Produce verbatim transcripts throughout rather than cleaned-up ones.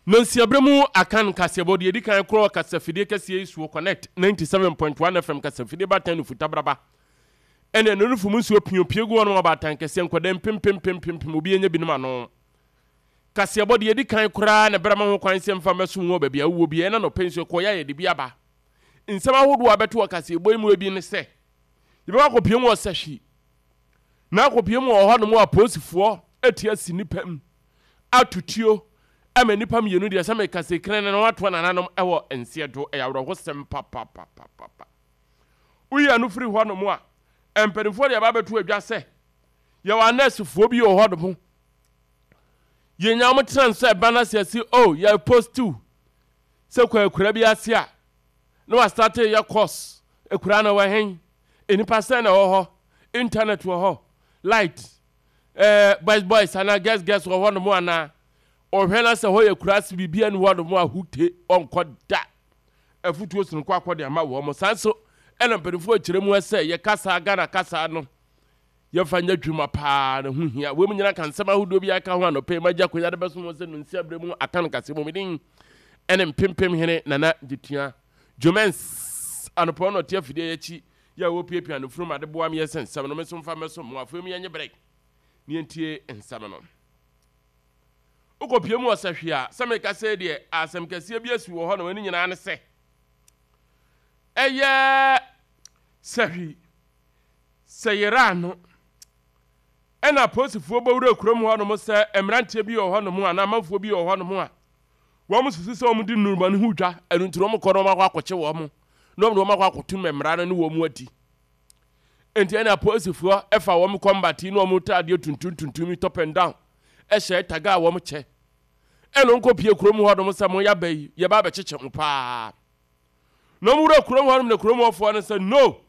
Nonsiaberɛ mu Akan kaseɛbɔ deɛ ɛdi kan korɔ kasafidie kɛseɛ yi soɔ, Connect ninety-seven point one F M kasafidie batan no futabraba ɛne ɛno no fom nsuo piopie gu hɔ nom. Ɔbaatan kɛseɛ nkɔda mpempempempempem obi anya binom ano kaseɛbɔ deɛ ɛdi kan koraa na bɛrɛ ma ho kwan sɛ mfa mɛso wɔ baabi a wowɔ bi. Ɛna nɔpɛ nsuo kɔyɛ a yɛde bi aba. Nsɛm ahodoɔ a bɛto wɔ kaseɛbɔ yi mu bi ne sɛ yɛbɛkɔ akɔpie mu wɔ Sɛhwi na akɔpie mu wɔ hɔ nom a apolisifoɔ ati asi nnipa mu atutuo ama nnipa mmienu deɛ sɛ meka sɛ kran na watoa nananom ɛwɔ nseɛ do. Ɛyɛ awerɛhosɛm papapapapa. Woyi ano firi hɔ nom a, mpanimfoɔ deɛ ɛba bɛto adwa sɛ yɛwɔ anɛɛsefoɔ bi wɔ hɔ nom, yɛnya wɔn tena nso ɛba no ase asi o yɛ post sɛ kɔ akura bi ase a na wasate yɛ course. Akura no wɔ hen? Nnipa sɛn na ɛwɔ hɔ? Internet wɔ hɔ? Light, ɛɛ boys boys anaa girls girls wɔ hɔ nom anaa? Ɔhwɛ na sɛ hɔ yɛ kura ase biribi ani hɔ nom a, hute ɔnkɔ da. Afutuo sononko akɔ de ama wɔn mo. Saa nso ɛna mpanimfoɔ akyerɛ mu sɛ yɛ kasa, Ghana kasa no, yɛmfa nyɛ adwuma paa na ho hia. Wɔn mu nyinaa ka nsɛm ahodoɔ bi aka ho. Anɔpɛ yi magya akonnwa de bɛso wɔn sɛ nonsi abere mu aka no kase mu. Medin ɛne Mpempem Hene Nana Gyetua Jomens. Anɔpɛ no ɔte afidie akyi yɛ a wɔpiapia no furum ade boa me yɛ sɛ nsɛm no me nso mfa mɛso mo. Afei mu yɛnyɛ brɛ ne yɛntie nsɛm no. Wokɔpie mu wɔ Sɛhwe a, sɛ meka sɛ deɛ asɛm kɛseɛ bi asi wɔ hɔ no, ɛno nyinaa ne sɛ ɛyɛ Sɛhwi sɛ yɛra no ɛna apolisifoɔ bɛwura kurom hɔ nom sɛ mmeranteɛ bi wɔ hɔ nom anaa amanfoɔ bi wɔ hɔ nom a wɔn susu sɛ wɔn di nnuruma no ho dwa. Ɛno nti wɔn kɔ na wɔn akɔ akɔkye wɔn na wɔn de wɔn akɔ akɔto mmara no ne wɔn adi. Nti ɛna apolisifoɔ ɛfa wɔn combat na wɔn taadeɛ tuntum tuntum, top and down, ɛhyɛ taga a wɔn kyɛ ɛna wɔn kɔ pie kurom hɔ nom sɛ mo yaba yi, yɛba abɛkyekyɛ mo paa. Na wɔn wura kurom hɔ nom na kurom hɔfoɔ no sɛ no,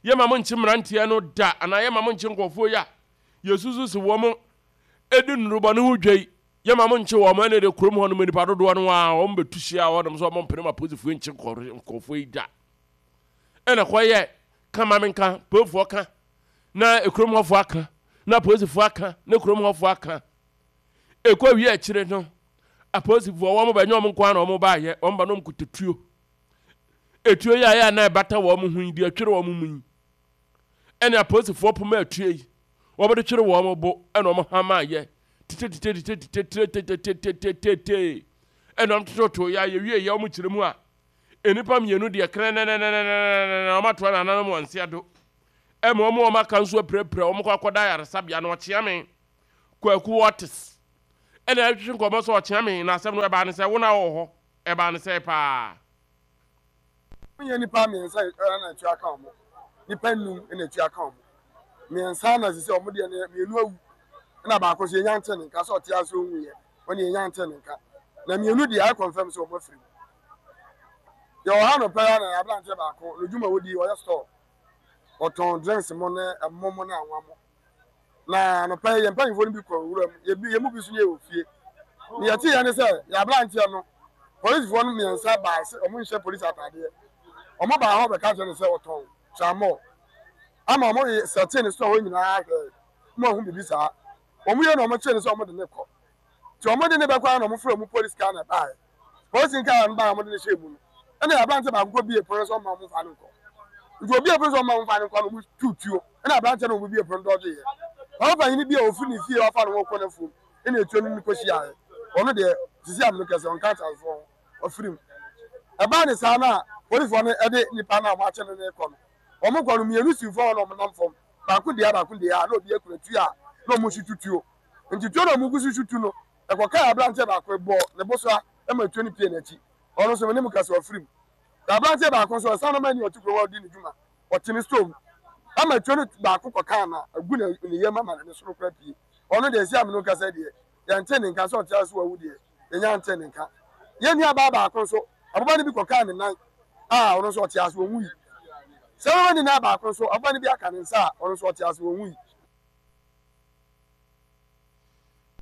yɛma mo nkye mmeranteɛ no da anaa yɛma mo nkye nkɔfoɔ yi a yɛsusu sɛ wɔn edi nnurubɔ no ho dwa yi, yɛma mo nkye wɔn. Ɛna de kurom hɔ nom nipa dodoɔ no a wɔn bɛtu hyia hɔ nom sɛ wɔn mpene ma apolisifoɔ nkye nkɔfoɔ yi da. Ɛna kɔyɛ kama mi nka polisifoɔ ka na kurom hɔfoɔ aka na apolisifoɔ aka na kurom hɔfoɔ aka. Ekɔ wie akyire no, apolisifoɔ wɔn bɛ nyɛ wɔn nko ara na wɔn baayɛ. Wɔn ba no wɔn kuta tuo. Etuo yi a yɛ a na ɛbata wɔn ho yi deɛ ɛtwere wɔn mu yi, ɛna apolisifoɔ poma etuo yi wɔn de twere wɔn bo, ɛna wɔn hama ayɛ tetetetetetetetetetetete, ɛna wɔn tototo yɛ ayɛ wie yɛ. Wɔn kyerɛ mu a, nnipa mmienu deɛ krɛnɛnɛnɛnɛnɛ wɔn atoa nananom wɔn nsa do, ɛma wɔn wɔn aka nso apirapira wɔn kɔ akɔda ayaresabea. Na ɔkyeame Kwaku Wɔtes ɛna ɛtwitwi nkɔmɔ sɛ ɔkyeame na asɛm no ɛbaa ne sɛ wɔn a wɔwɔ hɔ ɛbaa ne sɛ paa. Nyɛ nipa mmiɛnsa ɛna atua ka wɔn, nipa nnum ɛna atua ka wɔn. Mmiɛnsa na sisi wɔn deɛ no, mmienu awu ɛna baako nso yɛnya nte ne nka sɛ ɔte ase ohun yɛ wɔn, yɛnya nte ne nka. Na mmienu deɛ ayɛ confirm sɛ wɔn afiri mu. Yɛwɔ ha no pɛɛ na aberanteɛ baako n'odwuma wodi, ɔyɛ store, ɔtɔn drinks mo ne ɛmo mo ne anwa mo. Na anɔpɛ yi yɛn mpanyinfoɔ no bi kɔ nwura mu, yɛ yɛn mu bi nso yɛ wɔ fie. Ne yɛte yɛn ne sɛ yɛ aberanteɛ no, polisifoɔ no mmiɛnsa baa sɛ wɔn nhyɛ polisi ataadeɛ. Wɔn baa hɔ bɛka kyerɛ no sɛ ɔtɔn tramɔ ama wɔn yɛ sɛte ne store hɔ nyinaa hwɛ mo ahu bibi saa. Wɔn yɛ na wɔn kyerɛ no sɛ wɔn de ne kɔ, tí wɔn de ne bɛkɔ ara na wɔn frɛ wɔn polisi car na ɛbaeɛ. Polisi car no baa, wɔn de ne hyɛ mu no, ɛna aberanteɛ baako kɔ bie pono sɛ ɔma wɔn fa ne nkɔ. Nti obi pono sɛ ɔma wɔn fa ne nkɔ na wɔn tu tuo, ɛna aberanteɛ no wɔn bie pono dɔgye yɛ wɔn panyin bi a ofiri ne fie wafa ne ho kɔ n'afuom, ɛna etuo no ne kɔ hyia yɛ. Ɔno deɛ, sisi amino kɛse ɔnka akyɛnfoɔ ho, ɔfiri mu. Ɛbaa ne saa na polisifoɔ no ɛde nipa no a wɔn akyɛ no ne kɔ no, wɔn kɔ no, mmienu si fam na wɔn nam fam, baako deɛ baako deɛ a na obi akura tuo a na wɔn nso tutuo. Nti tuo na wɔn gu so tutu no, ɛkɔka aberanteɛ baako bɔ ne bo so a ɛma tuo no pie n'akyi. Ɔno nso ne mu kɛse ɔfiri mu. Na aberanteɛ baako nso ɔsan no ani ɔte kurom a ɔdi ne dwuma, ɔte ne store mu ama tuo no baako kɔkaa na agu ne ne yam ama ne soro kora pie. Ɔno deɛ, esi amino kasa deɛ, yɛnte ne nka sɛ ɔte ase wawu deɛ, yɛnya nte ne nka. Yɛn nua baa baako nso, aboba no bi kɔkaa ne nan a ɔno nso ɔte ase wɔn yi. Sɛ wɔn ne nan baako nso, aboba no bi aka ne nsa a ɔno nso ɔte ase wɔn yi.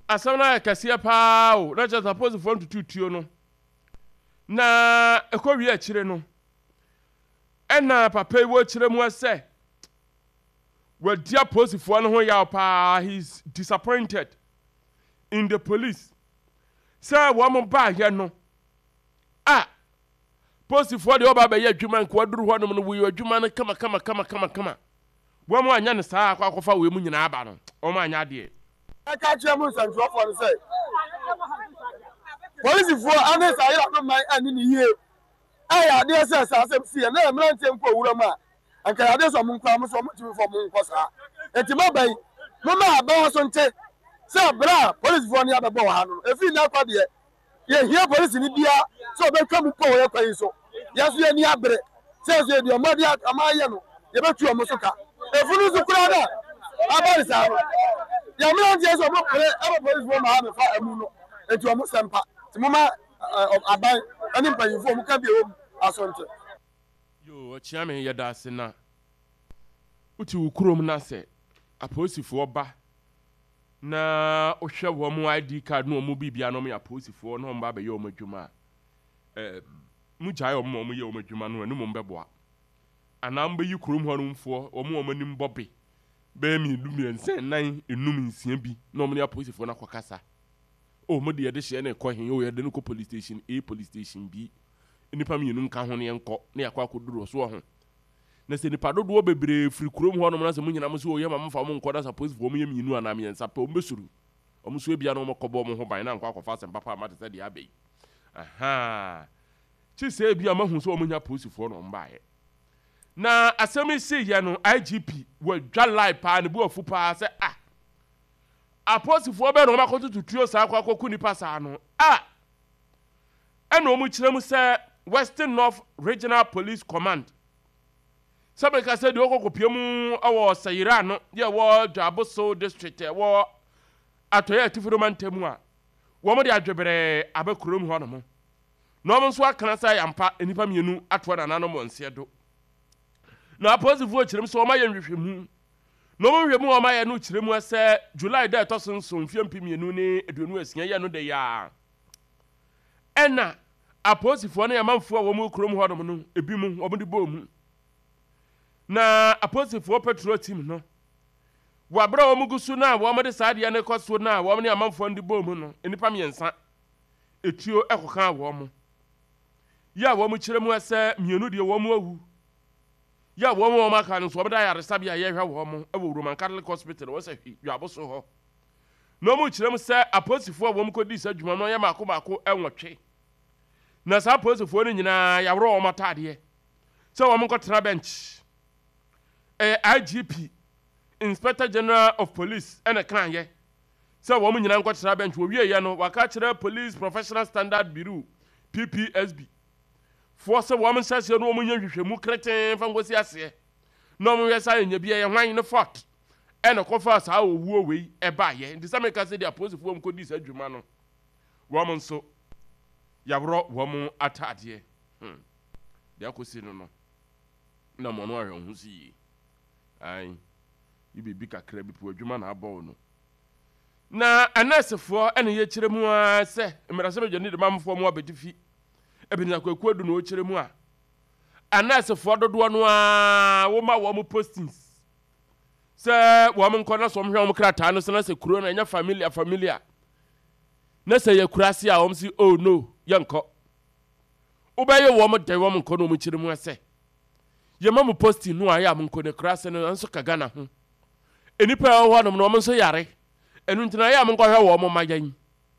Asɛm no ayɛ kɛseɛ paa o. Na kyerɛ sɛ apolisifoɔ ntutu tuo no na ɛkɔ wie akyire no, ɛna papa yi wɔ kyerɛ mu sɛ wadi apolisifoɔ no ho yaw paa. He is disappointed in the police. Sɛ wɔn baayɛ no a, polisifoɔ deɛ ɔba abɛyɛ adwuma nka waduru hɔnom no, wɔyɛ adwuma no kama kama kama kama kama. Wɔn anyɛ no saa akɔ akɔfa wei mu nyinaa aba no, wɔn anyɛ adeɛ. Ɛka kyerɛ mu nsɛntwerɛfoɔ no sɛ polisifoɔ ane saa yere no man ani ne yie. Ɛyɛ adeɛ sɛ saa asɛm si yɛ na yɛ mmeranteɛ nkɔ owura mu a, anka yɛ adeɛ sɛ ɔmo nkɔ mo so ɔmo ntumi fɔ ɔmo nkɔ saa. Eti mo bɛyi mo ma aban so nte sɛ abere a polisifoɔ no abɛbɔ wɔ ha no, efi nna akɔ deɛ yɛhia polisi ni bia sɛ ɔbɛtwa mu pɔ wɔ yɛ kwan yi so. Yɛn nso yɛ ni abere sɛ nso yɛ deɛ ɔmo de ɔmo ayɛ no, yɛbɛtu ɔmo so ka. Efunu nso koraa na aba ne saa no, yɛn mmeranteɛ sɛ ɔmo pere ɛbɛ polisifoɔ ma ha mefa ɛmu no, eti ɔmo sɛ mpa ti mo ma aban ɛne mpanyinfoɔ ɔmo ka bi ɛwɔ mu aso nte. Yo, ɔkyea me, yɛda ase. Na wote wo kurom na sɛ apolisifoɔ ba na wohwɛ wɔn I D card na wɔn biribia na wɔn yɛ apolisifoɔ na wɔn ba abɛyɛ wɔn adwuma a, ɛɛ mu gyae wɔn ma wɔn yɛ wɔn adwuma no, ɛno mo bɛboa anaa mbɛyi kurom hɔ nomfoɔ wɔn wɔn anim bɔ bɛyɛ mmienu, mmiɛnsa, nnan, enum, nsia bi na wɔn ne apolisifoɔ no akɔkasa o. Mo de yɛde hyɛ ne kɔ hen o? Yɛde no kɔ police station A, police station B, nipa mmienu nka ho ne yɛnkɔ ne yɛakɔ akɔduru so wɔ ho. Na sɛ nipa dodoɔ bebree firi kurom hɔ nom na sɛ mo nyinaa mo sɛ oyɛ ma mo fa mo nkɔ, na sɛ apolisifoɔ mo yɛ mmienu anaa mmiɛnsa pɛ, wɔn bɛsuru wɔn nso ebia na wɔn kɔbɔ wɔn ho ban na nkɔ akɔfa asɛm papa ama te sɛ deɛ aba yi. Ahaa, kyi sɛ ebia mo ahu sɛ wɔn nya apolisifoɔ na wɔn baayɛ. Na asɛm yi si yɛ no, I G P wɔadwa lie paa, ne bu afu paa sɛ ah, apolisifoɔ bɛɛ na wɔn akɔtoto tuo saa akɔ akɔku nipa saa no a. Ɛna wɔn kyerɛ mu sɛ Western North Regional Police Command, sɛ meka sɛ deɛ ɔkɔkɔpie mu wɔ Sayira no yɛ wɔ Dwaboso District, ɛwɔ Atɔeɛ Atifi mantam a, wɔn de adweberɛ aba kurom hɔ nom na wɔn nso akana sɛ yampa nnipa mmienu atoa nananom wɔn nseɛ do. Na apolisifoɔ kyerɛ mu sɛ wɔn ayɛ nhwehwɛmu, na wɔn nhwehwɛmu a wɔn ayɛ no kyerɛ mu sɛ July da ɛtɔ so nson, mfeɛ mpem mmienu ne aduonu asia yɛ no de yaa, ɛna apolisifoɔ ne amanfoɔ a wɔn wɔ kurom hɔnom no ebi mu wɔn de bɔɔ mu. Na apolisifoɔ patrol team no, wɔ abere a wɔn gu so na wɔn de saa adeɛ no kɔ so na wɔn ne amanfoɔ no de bɔɔ mu no, nnipa mmiɛnsa etuo ɛkɔka wɔn mo yɛ a wɔn kyerɛ mu sɛ mmienu deɛ wɔn awu, yɛ a wɔn a wɔn aka no nso wɔn da ayaresabea a yɛhwɛ wɔn wɔ Roman Catholic Hospital wɔ sɛ Dwaboso hɔ. Na wɔn kyerɛ mu sɛ apolisifoɔ a wɔn kɔdi saa adwuma no yɛ mako mako nwɔtwe, na saa apolisifoɔ no nyinaa yɛaworɔ wɔn ataadeɛ sɛ wɔn nkɔtena bench. Ɛyɛ I G P, Inspector General of Police, ɛna kan yɛ sɛ wɔn nyinaa nkɔtena bench. Wɔwie yɛ no, waka kyerɛ Police Professional Standard Bureau, P P S B foɔ, sɛ wɔn nhyɛ aseɛ no wɔn nyɛ nhwehwɛmu kretee fa nkosi aseɛ na wɔn yɛ saa nyɛ bi ɛyɛ hwan ne fault ɛna kɔfa saa owuo wei ɛbaayɛ. Nti sɛ meka sɛ deɛ apolisifoɔ mu kɔdi saa adwuma no, wɔn nso yɛaworɔ wɔn ataadeɛ hmm deɛ akɔsi no no na mo no ahwɛ ho so yie. Ayi yi biribi kakra bi po adwuma na abɔ wo no. Na anɛɛsefoɔ ɛna yɛkyerɛ mu ara sɛ mmarahyɛbadwa ne demamfoɔ mu abɛdi fi Ebenezer Kwaku Adu na ɔkyerɛ mu a, anɛɛsefoɔ dodoɔ no ara wɔma wɔn postings sɛ wɔn nkɔ na sɛ wɔn hwɛ wɔn krataa no so na sɛ kuro no ɛnyɛ familiar familiar na sɛ yɛ kura ase a, wɔn si oh no, yɛnkɔ. Wobɛyɛ wɔn dɛn? Wɔn nkɔ. Na wɔn kyerɛ mu sɛ yɛma mo posting no a, yɛ a mo nkɔ ne kura ase no nso ka Ghana ho nnipa a ɛwɔ hɔnom na wɔn nso yare ɛno nti na yɛ a mo nkɔhwɛ wɔn ma yɛn.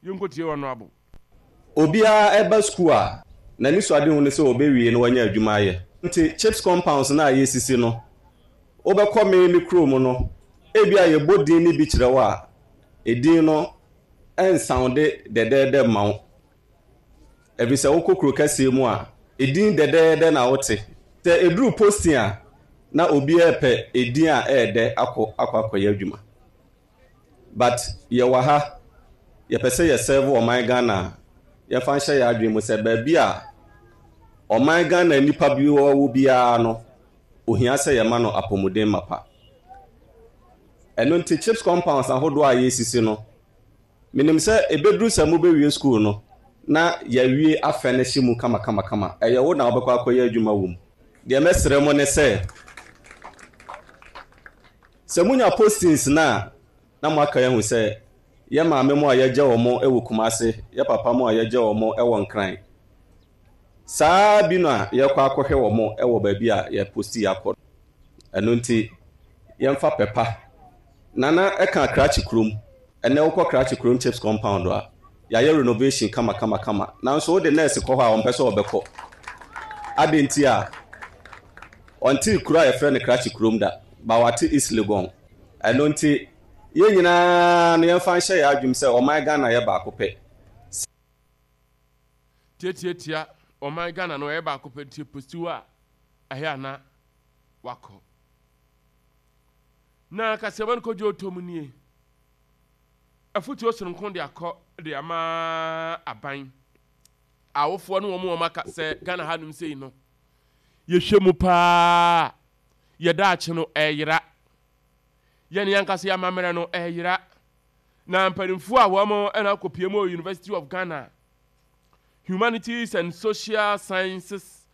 Yɛnkɔtie wɔn no abo. Obiara ɛba sukuu a, n'ani so adehu ne sɛ ɔbɛwie na wanya adwuma ayɛ. Nti CHPS compounds no a yɛsisi no, wobɛkɔ me me kurom no, ebi a yɛbɔ din no bi kyerɛ wo a, edin no ɛnsound dɛdɛɛdɛ ma wo, ɛfiri sɛ wokɔ kuro kɛseɛ mu a, edin dɛdɛɛdɛ na wote. Sɛ eduru posting a, na obiara pɛ edin a ɛɛdɛ akɔ akɔ akɔyɛ adwuma. But yɛwɔ ha, yɛpɛ sɛ yɛserve ɔman Ghana a, yɛmfa nhyɛ yɛn adwene mu sɛ baabi a ɔman Ghana nipa bi wɔ biara no, ohia sɛ yɛma no apɔmuden mapa. Ɛno nti CHPS compounds ahodoɔ a yɛsisi no, menim sɛ ɛbɛduru sɛ mobɛwie school no na yɛawie afɛ no hyɛ mu kamakamakama. Ɛyɛ wo na wobɛkɔ akɔyɛ adwuma wɔ mu. Deɛ mɛsrɛ mo ne sɛ, sɛ monya postings no a, na moaka ahu sɛ Yɛ maame mo a yɛgya wɔn wɔ Kumase, yɛ papa mo a yɛgya wɔn wɔ Nkran. Saa bi na yɛkɔ akɔhwɛ wɔn wɔ baabi a yɛposti akɔ. Ɛno nti, yɛmfa pɛpa. Nana ɛka Krakye kurom. Ɛnɛ wokɔ Krakye kurom CHPS compound a, yɛayɛ renovation kama kama kama. Nanso wode nurse kɔ hɔ a ɔmpɛ sɛ ɔbɛkɔ. Ade nti a ɔnte kuro a yɛfrɛ no Krakye kurom da, ba wate East Legon. Ɛno nti, yɛn nyinaa no yɛmfa nhyɛ yɛn adwum sɛ ɔman Ghana yɛ baako pɛ. Tiatiatia ɔman Ghana no ɛyɛ baako pɛ nti posti hɔ a ɛyɛ ana wakɔ. Na kaseɛbɔ no kɔdwo ɔtɔ mu nie. Afotuo sononko de akɔ de ama aban. Awofoɔ ne wɔn wɔn aka sɛ Ghana hanom sei no, yɛhwɛ mu paa, yɛda akye no ɛyera. Yɛne yɛn yɛ amammerɛ no ɛyera. Na mpanimfoɔ a wɔn ɛna akɔpie mu wɔ University of Ghana Humanities and Social Sciences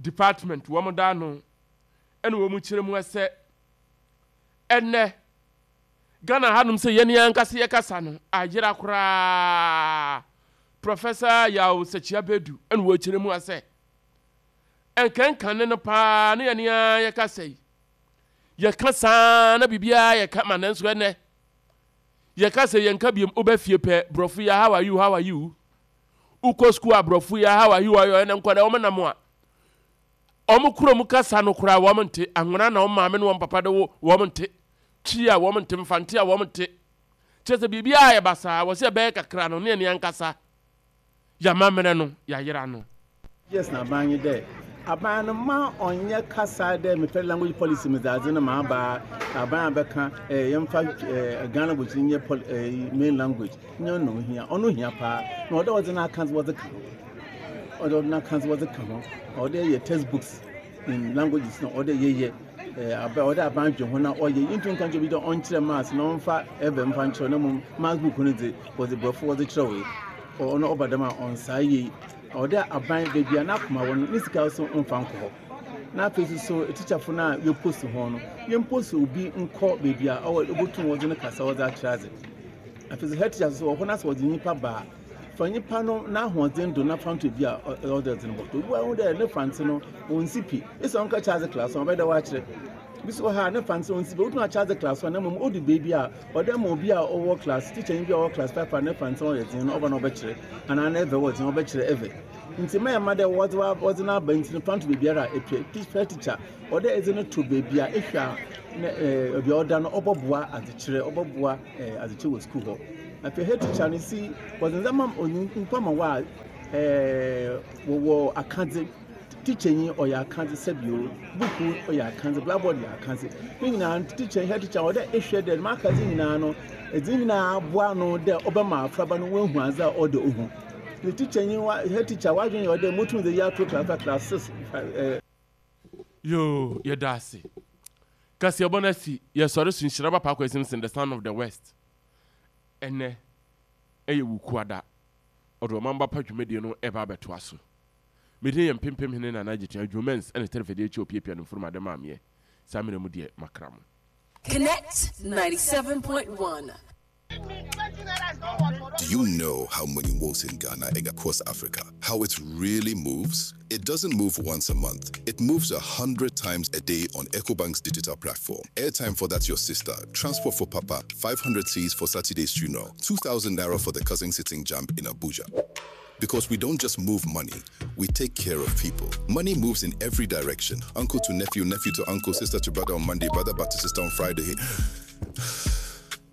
Department wɔn da no ɛna wɔn kyerɛ mu sɛ ɛnɛ Ghana hanom sɛ yɛne yɛn ankasa yɛkasa no ayera koraa. Professor Yaw Sɛkyia Bedu ɛna wɔkyerɛ mu sɛ ɛnkɛnkane no paa ne yɛne yɛn yɛkasa yi yɛka saa na biribiara yɛka ma nanso ɛnɛ yɛka sɛ yɛnka biom wobɛ fie pɛ borɔfo yi how are you how are you wokɔ sukuu a borɔfo yi how are you ayɔ ɛnɛ nkɔda wɔn nam a wɔn kurom kasa no koraa wɔn nte anwona na wɔn maame ne wɔn papa de wo wɔn nte twi a wɔn nte mfante a wɔn nte kyerɛ sɛ biribiara yɛ basaa wɔ sɛ ɛbɛyɛ kakra no ne ɛne ankasa yɛamammerɛ no yɛayera no. Yes, na aban yi dɛ aban no ma ɔnyɛ kasa dɛ mepɛ language policy mi dze no ma aba aban a bɛka ɛɛ yɛmfa ɛɛ Ghana language nyɛ pol ɛɛ main language nyɛ ɔno hia ɔno hia paa na ɔdɛ ɔdze n'aka wɔdze ka ho ɔdɛ ɔdze n'aka wɔdze ka ho ɔdɛ yɛ textbooks in languages na ɔdɛ yɛyɛ ɛɛ aba ɔdɛ aban dwe ho na ɔyɛ yɛntu nka nkyɛn bi dɛ ɔnkyerɛ maths na ɔmfa ɛbɛ mfa nkyerɛ na mmom maths book no dze wɔdze borɔfo wɔdze kyerɛwee ɔno ɔba dɛm a ɔnsaa yie. Ɔdɛ aban beebi a n'akoma wɔ no ne sika nso mfa nkɔ hɔ na afei nso so tikyafo no a yɛpost ho no yɛmpost obi nkɔ beebi a ɔwɔ obotum wɔdze no kasa wɔdze akyerɛ adze. Afei so head teacher nso wɔ hɔ na sɛ wɔdze nyimpa ba a fa nyimpa no n'ahoɔdzen do na fa nto bi a ɔdze ɔdze no bɔtɔ obi wɔ hɔ dɛ ne fante no ɔnsi pi esɛ ɔnka kyerɛ adze class one ɔbɛyɛ dɛ wɔakyerɛ bi so wɔ ha ne fante ɔnsi pi otum akyerɛ adze class one na mmom odu beebi a ɔdɛ ma obi a ɔwɔ class teacher bi a ɔwɔ class five a ne fante ɔyɛ dzen no ɔba na ɔbɛkyerɛ anaa ne Ewe wɔ dzen ɔbɛkyerɛ Ewe nti mɛyɛ ma dɛ wɔdze wɔdze n'aba nti no fa nto beebiara a epɛ first teacher ɔdɛ edze no to beebi a ehwɛ a ne ɛɛ beebi a ɔda no ɔbɛboa adzekyerɛ ɔbɛboa ɛɛ adzekyerɛ wɔ sukuu hɔ. Afei head teacher no si wɔdze ndzɛmba nyimpa ma wɔ a ɛɛ wɔwɔ akadze teacher nyi ɔyɛ akadze sɛbio buku ɔyɛ akadze blackboard yɛ akadze ne nyinaa teacher head teacher ɔdɛ ehwɛ dɛ dɛm akadze nyinaa no edze nyinaa aboa ano dɛ ɔbɛma afraba no woehu adze a ɔdɛ ohu ne teacher nyi wa head teacher wadwen yɛ ɔdɛ motum dze yi ato class class six ɛɛ. Yoo, yɛda ase. Kaseɛbɔ no asi yɛsɔre so nhyira ba Paako Simpson, the son of the West. Ɛnɛ ɛyɛ Wukuada ɔde ɔman ba pa dwumadie no ɛba abɛtoa so. Mede yɛ mpempem hene Nana Agyetua Dwumens ɛne tɛrɛfɛdeɛ akyi opiapia no mfurum ade maameɛ saa mmerɛ mu deɛ makra mo. Connect ninety-seven point one. Do you know how money moves in Ghana and across Africa? How it really moves? It doesn't move once a month. It moves a hundred times a day on EcoBank's digital platform. Airtime for that your sister, transport for Papa, five hundred cedis for Saturday's funeral, two thousand naira for the cousin sitting JAMB in Abuja. Because we don't just move money, we take care of people. Money moves in every direction. Uncle to nephew, nephew to uncle, sister to brother on Monday, brother back to sister on Friday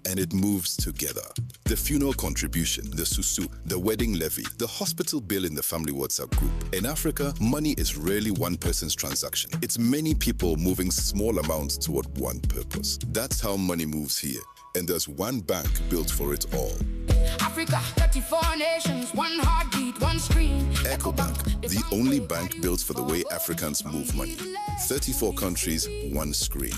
and it moves together. The funeral contribution, the susu, the wedding levy, the hospital bill in the family WhatsApp group. In Africa, money is rarely one person's transaction. It's many people moving small amounts toward one purpose. That's how money moves here. And there's one bank built for it all. Africa, thirty-four nations, one heartbeat, one screen. EcoBank, the only bank built for the way Africans move money. thirty-four countries, one screen.